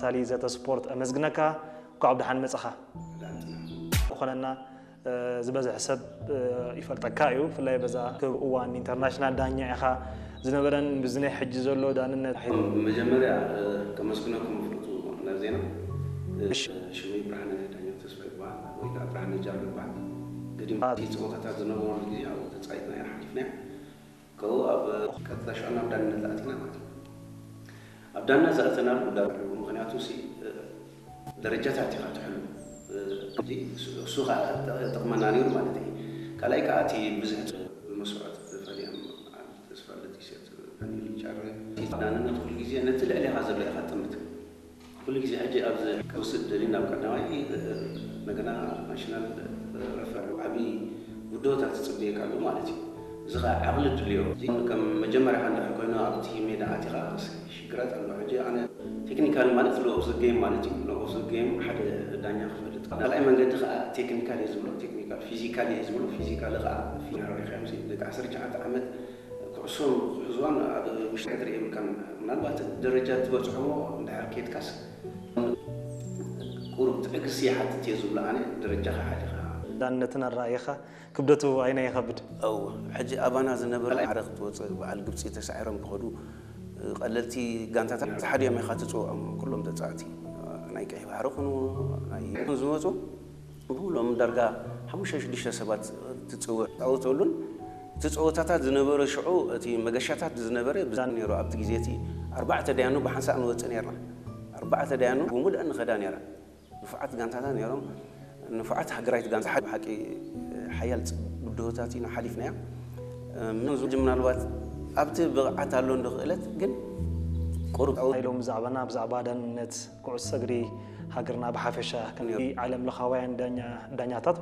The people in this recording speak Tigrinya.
ሳሊ ዘተ ስፖርት ኣመስግነካ። እንኳዕ ብደሓን መጻኻ። ዝኾነና ዝበዝሕ ሰብ ይፈልጠካ እዩ፣ ብፍላይ በዛ ክብ እዋን ኢንተርናሽናል ዳኛ ኢኻ ዝነበረን ብዝናይ ሕጂ ዘሎ ዳንነት። መጀመርያ ከመስግነኩም ፍርቱ ነር ዜና። ሽመይ ብርሃነ ዳኛ ተስፋ ይበሃል ወይ ከዓ ብርሃነ ጃሎ ይበሃል። ገዲም እቲ ፀወታታት ዝነበሩ ግዜ ኣብኡ ተፃይትና ኢና ሓሊፍና። ከብኡ ኣብ ቀጥታ ሽዑ ናብ ዳንነት ኣቲና ማለት እዩ። ኣብ ዳንነት ዝኣተናሉ ጉዳይ እዩ። ምክንያቱ ሲ ደረጃታት ኢኻ ትሕሉ። እዚ እሱ ከዓ ጠቕመና ነይሩ ማለት እዩ። ካልኣይ ከዓ እቲ ብዙሕ መስዋዕት ዝፈልዮም ተስፋ ለጢሴት ዳንነት ኩሉ ግዜ ነቲ ልዕሌኻ ዘሎ ኢኻ ትጥምት። ኩሉ ግዜ ሕጂ ኣብዚ ክወስድ ደሊ ናብ ቀዳማይ እንደገና ናሽናል ረፈር ዓብዪ ውድወታት ትፅበየካ ኣሎ ማለት እዩ። እዚ ከዓ ዓቕሊ ድልዮ። ከም መጀመርያ እንድሕር ኮይኑ ኣብቲ ሜዳ ኣቲኻ ሽግራት ኣሎ። ሕጂ ኣነ ቴክኒካሊ ማለት ሎ ኦፍ ዘ ጌም ማለት እዩ። ሎ ኦፍ ዘ ጌም ሓደ ዳኛ ክፈልጥ ካልኣይ መንገዲ ከዓ ቴክኒካል እየ ዝብሎ ቴክኒካል ፊዚካል እየ ዝብሎ ፊዚካል ከዓ ፊናረሪካ ምስ ደቂ ዓሰርተ ትሽዓተ ዓመት ኩዕሶ ክሕዝዋን ኣብ ውሽጢ ሕድሪ የብልካን። ምናልባት ደረጃ ትበፅሖ እንድሕር ኬድካስ ቁሩብ ትዕግስቲ ይሓትት እየ ዝብሎ ኣነ ደረጃ ክሓሊኻ። ዳንነትን ኣረኣየኻ ክብደቱ ኣይናይ ይኸብድ። እው ሕጂ ኣባና ዝነበረ ማዕረ ክትወፅእ በዓል ግብፂ ተሳዒሮም ክኸዱ ቀለልቲ ጋንታታት ሓደ እዮም ኢኻ ትፅውዖም ኩሎም ተፃወቲ ናይ ቀይ ባሕሪ ኩኑ ናይ ይኹን ዝመፁ ብሎም ዳርጋ ሓሙሽተ ሽዱሽተ ሰባት ትፅውዕ ፃወተሉን እቲ ፀወታታት ዝነበረ ሽዑ እቲ መገሻታት ዝነበረ ብዛን ነይሩ ኣብቲ ግዜ እቲ ኣርባዕተ ደያኑ ብሓንሳእ ንወፅእ ነርና ኣርባዕተ ደያኑ ብሙሉእ ንኸዳ ነይራ ንፉዓት ጋንታታት ነይሮም ንፉዓት ሃገራዊት ጋንታ ሓደ ብሓቂ ሓያል ብድሆታት ኢና ሓሊፍናያ ምናልባት ኣብቲ ብቕዓት ኣሎ እንዶ ክእለት ግን ቁሩብ ናይ ሎሚ ዛዕባና ብዛዕባ ዳንነት ኩዕሶ እግሪ ሃገርና ብሓፈሻ ከም ዓለም ለኻውያን ዳኛታት